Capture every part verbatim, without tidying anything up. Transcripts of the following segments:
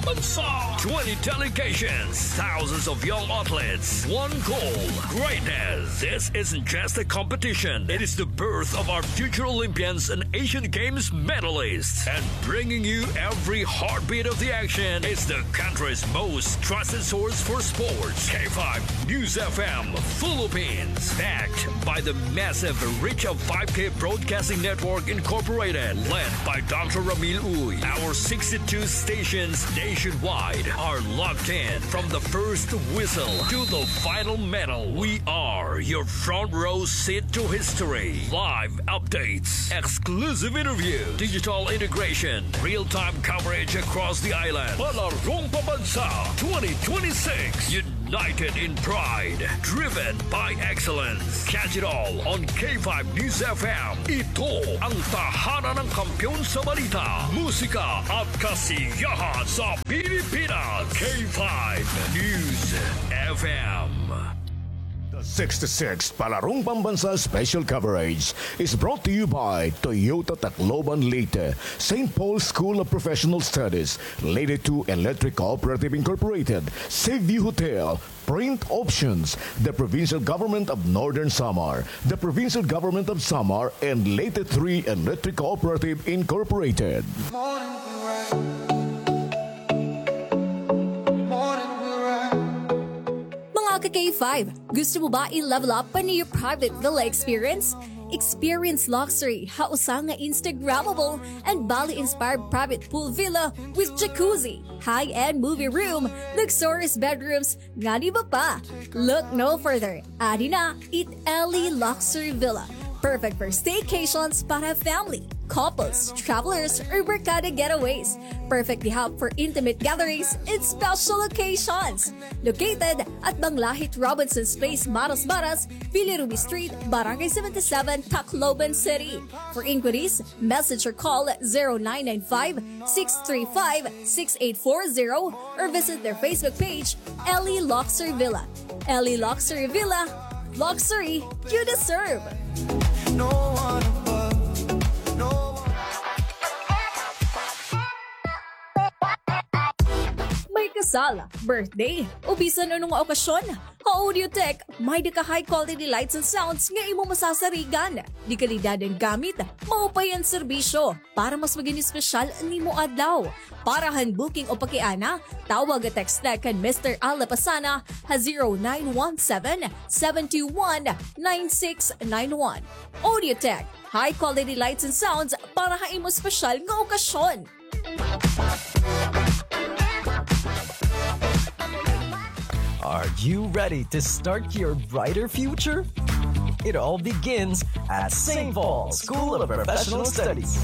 Bansa. Twenty delegations, thousands of young athletes, one goal, greatness. This isn't just a competition. It is the birth of our future Olympians and Asian Games medalists. And bringing you every heartbeat of the action is the country's most trusted source for sports. K five News F M Philippines. Backed by the massive reach of five K Broadcasting Network Incorporated, led by Doctor Ramil Uy. Our sixty-two stations nationwide are locked in. From the first whistle to the final medal, we are your front row seat to history. Live updates, exclusive interview, digital integration, real-time coverage across the island. Palarong Pambansa twenty twenty-six. United in pride, driven by excellence. Catch it all on K five News F M. Ito ang tahanan ng kampiyon sa balita, musika at kasiyahan sa Pilipinas. K five News F M. The sixty-sixth Palarong Pambansa Special Coverage is brought to you by Toyota Tacloban Leyte, Saint Paul School of Professional Studies, Leyte two Electric Cooperative Incorporated, Seaview Hotel, Print Options, the Provincial Government of Northern Samar, the Provincial Government of Samar, and Leyte three Electric Cooperative Incorporated. Mga ka-K five, gusto mo ba i-level up pa an iyo private villa experience? Experience luxury ha usa nga Instagrammable and Bali-inspired private pool villa with jacuzzi, high-end movie room, luxurious bedrooms, ngan iba pa. Look no further. Adi na it Ellie Luxury Villa. Perfect for staycations para family, couples, travelers, or barkada getaways. Perfect gihap for intimate gatherings and special occasions. Located at Banglahit Robinson's Place, Marasmaras, Villa Ruby Street, Barangay seventy-seven, Tacloban City. For inquiries, message or call zero nine nine five, six three five, six eight four zero or visit their Facebook page, Ellie Luxury Villa. Ellie Luxury Villa, luxury you deserve. No one above, no one. May kasal, birthday, o bisan ano nga okasyon, ha Audiotech, may-ada ka high quality lights and sounds nga imo masasarigan. De kalidad an gamit, maupay an serbisyo. Para mas magin espesyal an imo adlaw. Para han booking o pakiana, tawag o text na kan Mister Al Lapasana ha zero nine one seven, seven two one, nine six nine one. Audiotech, high quality lights and sounds para ha imo espesyal nga okasyon. Are you ready to start your brighter future? It all begins at Saint Paul School of Professional Studies.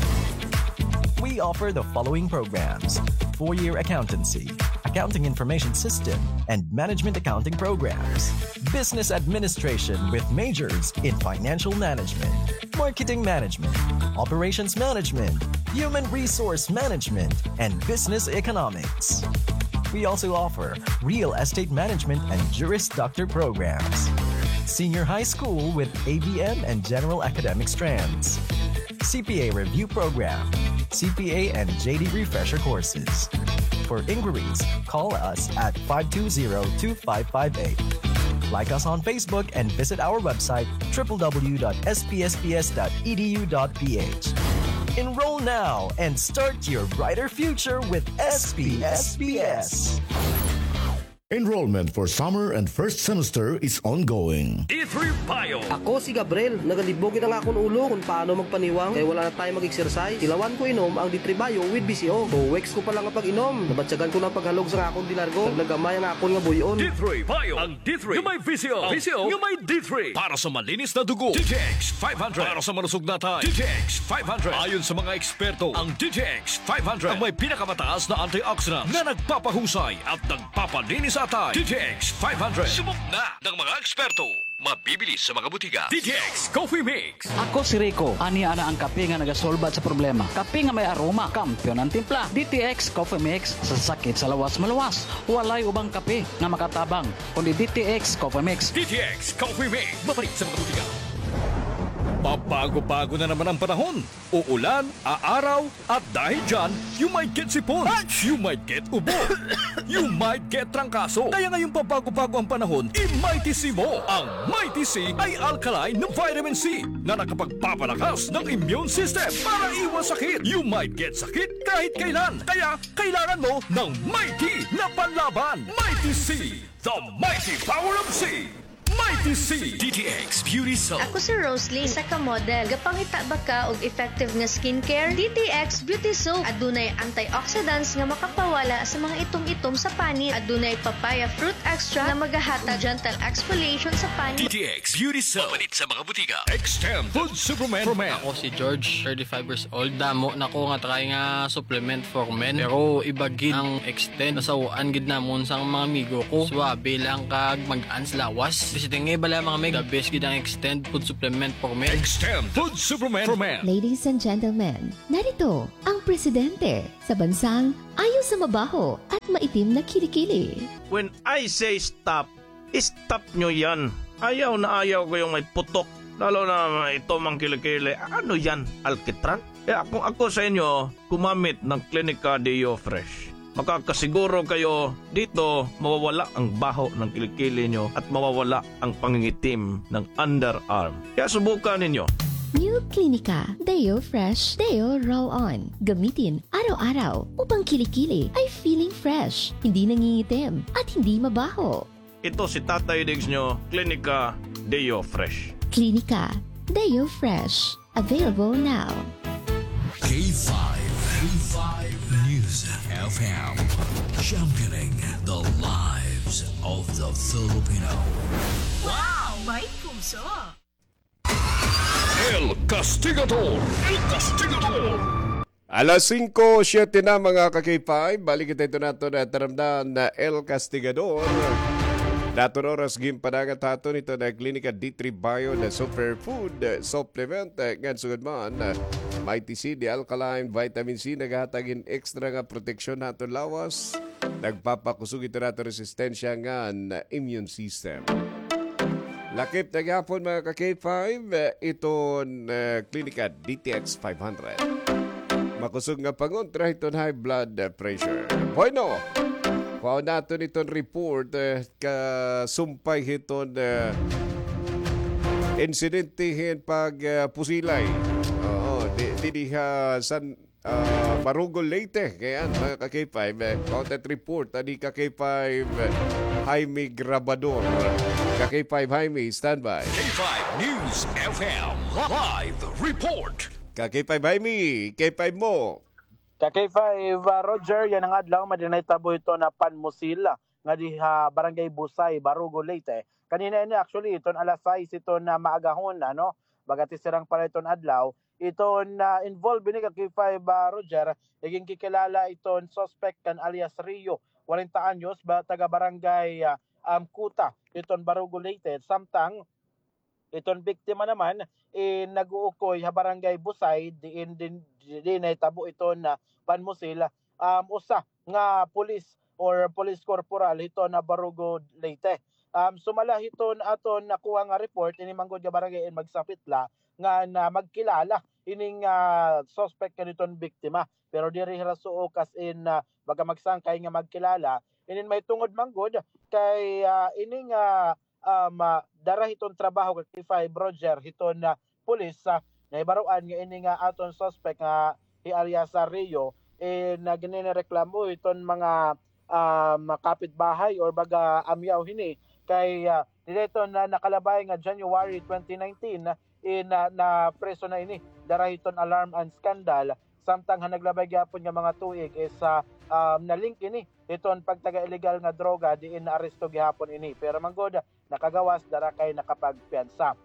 We offer the following programs: four-year accountancy, accounting information system, and management accounting programs, business administration with majors in financial management, marketing management, operations management, human resource management, and business economics. We also offer real estate management and Juris Doctor programs, senior high school with A B M and general academic strands, C P A review program, C P A and J D refresher courses. For inquiries, call us at five two zero, two five five eight. Like us on Facebook and visit our website, triple W dot S P S P S dot E D U dot P H. Enroll now and start your brighter future with S P S P S. Enrollment for summer and first semester is ongoing. D three Bio. Ako si Gabriel. Nagalibog gid an akon ulo kon paano magpaniwang kay wala na tayo mag-exercise. Tilawan ko inom ang D three Bio with V C O. Two weeks ko pa lang nga pag-inom, nabatyagan ko na an paghalog sa akon delargo. Nagnagamay ang akon nga buy-on. D three Bio. Ang D three nga may V C O. V C O nga may D three. Para sa malinis na dugo, D T X five hundred. Para sa malusog na atay, D T X five hundred. Ayon sa mga eksperto, ang D T X five hundred ang may pinakamataas na antioxidant na nagpapahusay at nagpapalinis sa atay. D T X five hundred. Subok na ng mga eksperto. Mabibili sa mga butika. D T X Coffee Mix. Ako si Rico. Ania na an kape nga nagasulbad sa problema. Kape nga may aroma, kampiyon an timpla. D T X Coffee Mix, sa sakit sa lawas maluwas. Walay ubang kape nga makatabang kundi D T X Coffee Mix. D T X Coffee Mix. Mabalik sa mga butika. Pabago-bago na naman ang panahon. Uulan, aaraw, at dahil dyan, you might get sipon, you might get ubo, you might get trangkaso. Kaya ngayong pabago-bago ang panahon, i-Mighty C mo. Ang Mighty C ay alkaline na vitamin C na nakapagpapalakas ng immune system para iwas sakit. You might get sakit kahit kailan. Kaya kailangan mo ng Mighty na panlaban. Mighty C, the mighty power of C. Mighty C. D T X Beauty Soap. Ako si Roslyn, isa ka model. Gapangita ba ka og effective nga skincare? D T X Beauty Soap. Adunay antioxidants nga makapawala sa mga itom-itom sa panit. Adunay papaya fruit extract nga magahatag gentle exfoliation sa panit. D T X Beauty Soap. Mapalit sa mga butika. Extend Food Supplement for Men. Ako si George, thirty-five years old. Damo na ko nga try nga supplement for men. Pero iba gid ang Extend. Nasaw-an gid namon sang mga amigo ko. Suabe lang kag mag-ans lawas. Bisiting nga iba lamang, mga mig. The best gid ang Extend food supplement for men. Extend food supplement for men. Ladies and gentlemen, narito ang presidente sa bansang ayaw sa mabaho at maitim na kilikili. When I say stop, stop nyo yan. Ayaw na ayaw ko yung may putok. Lalo na ito, mga kilikili. Ano yan? Alkitran? Kaya kung ako sa inyo, gumamit ng Clinica Deo Fresh. Makakasiguro kayo dito, mawawala ang baho ng kilikili nyo at mawawala ang pangingitim ng underarm. Kaya subukan ninyo. New Clinica Deo Fresh Deo Roll On. Gamitin araw-araw upang kilikili ay feeling fresh, hindi nangingitim, at hindi mabaho. Ito si Tatay Diggs nyo, Clinica Deo Fresh. Clinica Deo Fresh. Available now. K five, K five News F M, championing the lives of the Filipino. Wow! May puso! El Castigador! El Castigador! Alas singko siyete na, mga ka-K five. Balik kita ito nato na taramdan na El Castigador. Daton oras ginpadagat haton ito na Klinika D three Bio na superfood supplement. Ngan sugad man, Mighty C, the alkaline vitamin C, naghatag hin extra nga proteksyon haton lawas. Nagpapakusog ito naton resistensya ngan immune system. Lakip na gihapon, mga ka-K five, iton, eh, Klinika D T X five hundred. Makusog nga pangontra hiton high blood, eh, pressure. Bueno, kuhaon naton iton report, eh, kasumpay hiton, eh, insidente hin pag, eh, pusilay. Oo, di, di, di, ah, San, ah, Barugo, Leyte. Kaya, mga ka-K five, eh, content report, ani ka-K five, eh, Jaime Grabador. Ka-K five Jaime, standby. K five News F M, live report. Ka-K five Jaime, K five mo. Ka-K five, ah, Roger, yana nga adlaw, may-ada nahitabo hiton Panmusil, ah, nga diha Barangay Busay, Barugo, Leyte. Kanina ini, actually, iton alas sais, iton, ah, maagahon, ano, baga ti sirang pa la iton adlaw, iton, ah, involved ini ka-K five, ah, Roger, iginkikilala iton suspect kan alias Rio, kwarenta anyos, ba, taga Barangay, ah, um, Kuta, iton Barugo, Leyte. Samtang iton biktima naman, eh, nag-uukoy ha Barangay Busay, diin, din, diin nahitabo iton, ah, Panmusil, um, usa nga pulis or police corporal hiton Barugo, Leyte. Um, sumala hiton aton nakuha nga report, ini man gud nga barangay in magsapit la nga na magkilala ining, ah, suspect kaniton biktima. Pero diri hira suok as in, ah, baga magsangkay nga magkilala. Inin mahitungod man gud kay, ah, ini nga, um, ah, dara hiton trabaho ka-K five Roger hiton, ah, pulis, ah, nahibaroan nga ini nga aton suspect nga hi alias Rio, eh, na gininireklamo hiton mga, um, kapitbahay or baga amyaw hini kay, ah, dida hiton nakalabay nga January twenty nineteen, eh, na, napreso na ini dara hiton Alarm and Scandal, samtang ha naglabay gihapon nga mga tuig is, ah, um, na-link ini hiton pagtaga illegal nga droga diin naaresto gihapon ini. Pero man gud, nakagawas, dara kay nakapagpiyansa.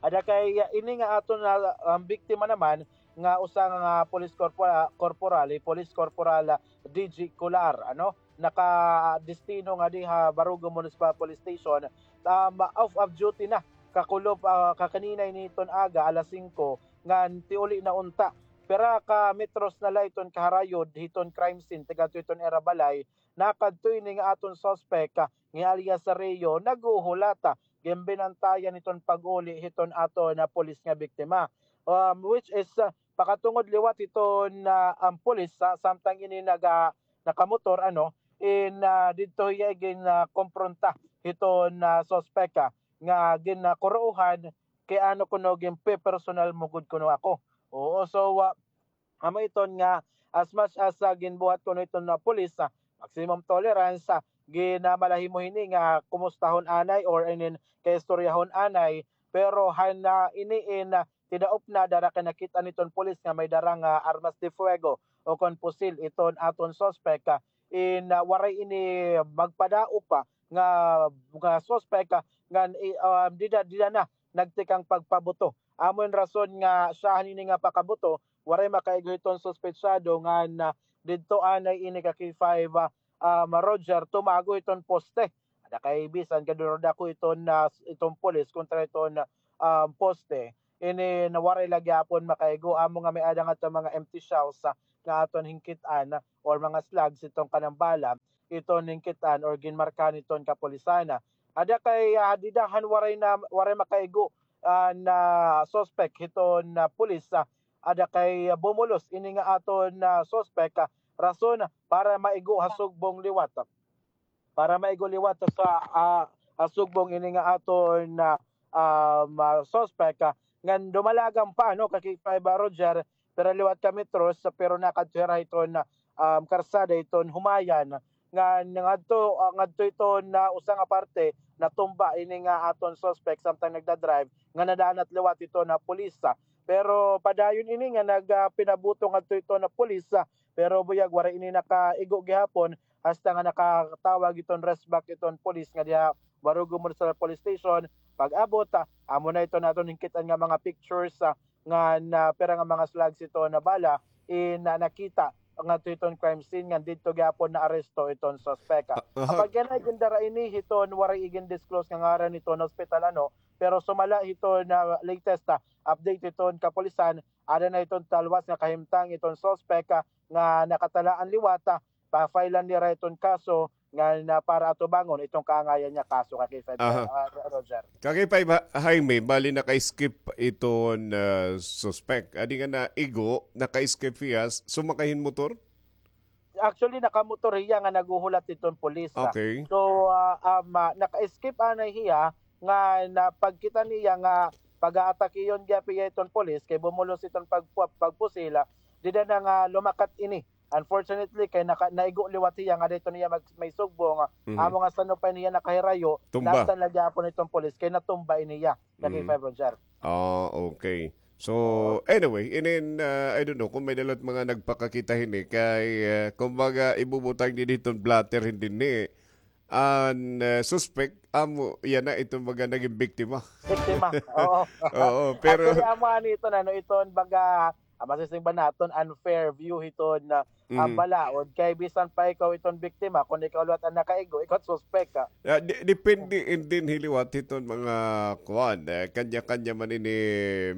Ada kay, ah, ini nga aton na, um, biktima naman nga usa nga police corpora-, corporal, eh, Police Corporal, ah, D J Colar, ano, nakadestino nga diha Barugo Municipal Police Station, um, off of duty na, kakulop, ah, kakanina ini hiton aga, alas singko, ngan tiuli na unta. Pira ka metros na la iton kaharayod hiton crime scene, tigadto hiton ira balay, nakadto ini nga aton suspect, ah, nga alias Rio, naghuhulat, ah, ginbinantayan hiton pag-uli hiton aton, ah, pulis nga biktima. Um, which is, ah, pakatungod liwat hiton, ah, an pulis, ah, samtang ini naga-, nakamotor, ano, in, ah, didto hiya gin, ah, kompronta hiton, ah, suspek, ah, nga gin, ah, kuruohan kay ano kuno ginpepersonal mo gud kuno ako. Oo, so, ah, amo iton nga as much as, ah, ginbuhat kuno iton nga pulis, ah, maximum tolerance, ah, ginamalahi mo hini nga kumustahon anay or inin kaistoryahon anay, pero han, ah, ini in, ah, tidaop na dara kay nakit-an iton pulis nga may dara nga armas de fuego o kon pusil iton aton suspek, ah, in, ah, waray ini magpadaop pa nga, nga suspek, ah, ngan, i-, ah, dida, dida na nagtikang pagpabuto. Amo in rason nga siyahan ini nga pakabuto, waray makaigo hiton suspetsado ngan, ah, didto anay ini ka K five, ah, um, Roger, tumago hiton poste. Ada kay bisan gadurodako iton, ah, iton pulis kontra iton, ah, poste. Ini na waray la gihapon makaigo, amo nga may-ada ngadto mga empty shells, ah, nga aton hingkit-an, ah, or mga slugs iton kanang bala, iton hingkit-an or ginmarkahan iton kapulisan. Ada kay, ah, dida han waray na, waray makaigo, ah, na suspek hiton, ah, pulis, ah, ada kay, ah, bumulos ini nga aton, ah, suspek, ah, rason para maigo ha sugbong liwat. Para maigo liwat sa, ah, ah, sugbong ini nga aton, ah, um, ah, suspek, ah, ngan dumalagan pa, no, ka K five, ah, Roger, pero liwat ka metros, pero nakadto hira hiton, ah, um, karsada hiton Humayan, ngan ngadto, ah, ngadto hiton, ah, usa nga parte, natumba ini nga aton suspek samtang nagdadrive, nga nadanat liwat hiton, ah, pulis. Pero padayon ini nga nag, ah, pinabuto ngadto hiton, ah, pulis, ah, pero buyag waray ini nakaigo gihapon, hasta nga nakatawag iton resback iton pulis nga diha Barugo Municipal Police Station. Pag-abot, ah, amo na iton aton hingkit-an nga mga pictures, ah, nga na pira nga mga slugs iton nga bala in, ah, nakita ngadto iton crime scene ngan didto gihapon naaresto iton suspek. Ah, aha. Apag yana gindara ini hiton waray igin-disclose nga ngaran hiton hospital, ano, pero sumala hiton, ah, latest, ah, update hiton kapulisan, ada na iton talwas nga kahimtang iton suspek, ah, nga nakatalaan liwat, ah, pa-file-an nira iton kaso nga na para atubangon iton kaangayan nga kaso ka K five, aha, ah, Roger. Ka K five, ha-, Jaime, bali naka-escape iton, ah, suspek. Adi nga naigo, naka-escape hiya, sumakay hin motor? Actually, nakamotor hiya nga naghuhulat iton pulis, ah. Okay. So, ah, um, ah, naka-escape anay hiya nga na pagkita niya nga pag-aatakiyon gihap hiya iton pulis kay bumulos iton pag-, pagpusil, ah, dida na nga lumakat ini. Unfortunately, kay naka-, naigo liwat hiya nga didto niya mag-, may sugbong, ah, mhm, amo nga sanupay niya nakahirayo, tumba. Nastan la gihapon iton pulis kay natumba ini hiya. Ka K five, Roger. Ah, okay. So, oo, anyway, inin, ah, I don't know kung may-ada liwat mga nagpakakita hini kay, ah, kumbaga, ibubutang dinhi hiton blotter hin dinhi. An, ah, suspek, amo, yana iton baga nagin biktima. Biktima, oo. Oo, pero actually, amo ani iton, ano, iton baga, ah, masisingba naton unfair view hiton, ah, ah, mhm, balaod. Kay bisan pa ikaw iton biktima, kon ikaw liwat an nakaigo, ikaw suspek ka. Ah, de-, depende in dinhi liwat hiton mga kuan, eh, kanya-kanya man ini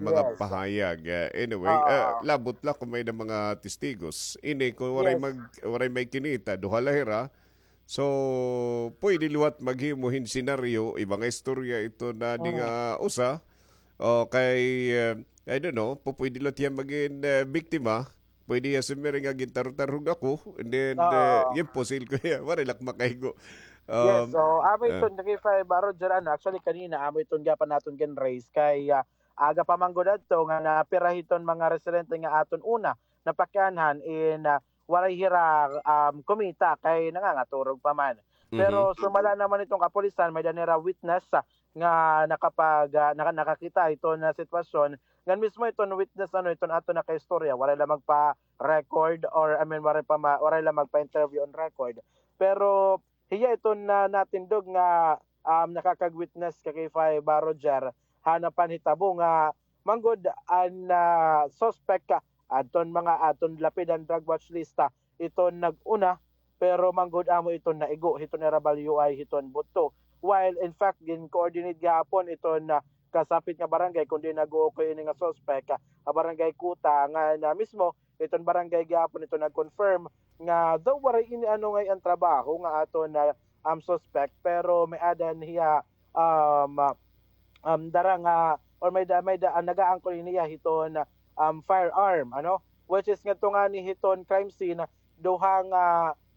mga, yes, pahayag. Eh, anyway, oo, ah, labot la kon may-ada mga testigos. Ini, kon waray, yes, mag-, waray may kinita, duha la hira, so, pwede liwat maghimo hin senaryo, iba nga istorya iton nga, mm, adi nga usa. O kay, eh, I don't know, pu-, pwede liwat hiya magin, eh, biktima. Pwede hiya sumiring nga gintarog-tarog ako, and then, eh, oo, ginpusil ko hiya. Waray la ak makaigo. Yes, um, so, amo, eh, iton, K five, ah, Roger, ano, actually, kanina, amo iton gihapon aton gin-raise kay, ah, aga pa man gud adto nga napira hiton mga residente nga aton una napakianhan in, ah, waray hira, um, kumita kay nangangaturog pa man. Pero, mhm, sumala naman iton kapulisan, may-ada nira witness, ah, nga nakapag-, ah, naka-, nakakita iton nga sitwasyon. Ngan mismo iton witness, ano, iton aton nakaistorya, waray la magpa-record or, I mean, waray pa ma-, waray la magpa-interview on record. Pero hiya iton na-, natindog nga, um, nakakag-witness ka K five, ah, Roger, han panhitabo nga manggod an, ah, suspek, ah, adton mga, adton lapidan drug watch lista iton nag-una, pero manggod amo iton naigo hiton ira balyuay hiton butto. While in fact, gin-coordinate gihapon iton, ah, kasapit nga barangay kon diin nag-uukoy ini nga suspek, ah, barangay Kuta, nga na mismo iton barangay gihapon iton nag-confirm nga though waray ini ano ngay-an trabaho nga aton na, um, suspek, pero may-ada hiya um, ah, um, dara nga, or may da, may da, ah, nagaangkol niya hiton, um, firearm, ano? Which is ngadto ngani hiton crime scene, duha nga,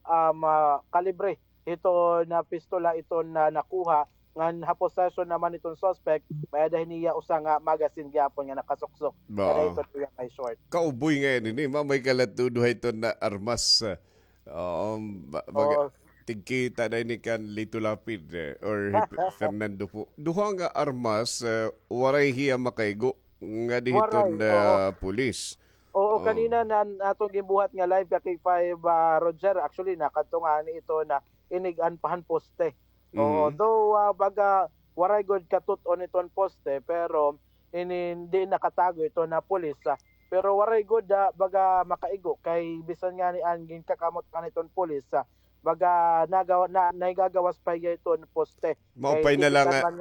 um, ah, kalibre hiton, ah, pistola iton, ah, nakuha, ngan ha possession naman iton suspect, may-ada hini hiya usa nga magazine gihapon nga nakasuksok. Kada iton iya may short. Kauboy ngay-an ini, ma, may kalat-on duha iton nga armas, ah, um, ba-, baga, tigkita na ini kan Lito Lapid, eh, or hi Fernando Poe. Duha nga armas, eh, waray hiya makaigo ngadi hiton, ah, pulis. Oo, kanina na aton ginbuhat nga live ka K five, ah, Roger. Actually, nakadto ngani ito na inig-an pa han poste. Oo, though, ah, baga waray gud katut-on iton poste, pero ini, di nakatago ito na pulis, ah. Pero waray gud, ah, baga makaigo kay bisan ngani an ginkakamot pa niton pulis, ah, baga nagawa-, na, nagagawas pa hiya iton poste. Maupay na lang nga,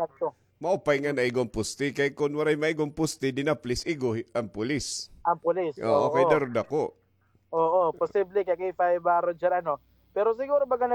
maupay nga naigo an poste kay kon waray maigo an poste, di na please igo hi-, an pulis. An pulis, oo, kay daro dako. Oo, posible kay K five, ah, Roger, ano. Pero siguro baga na,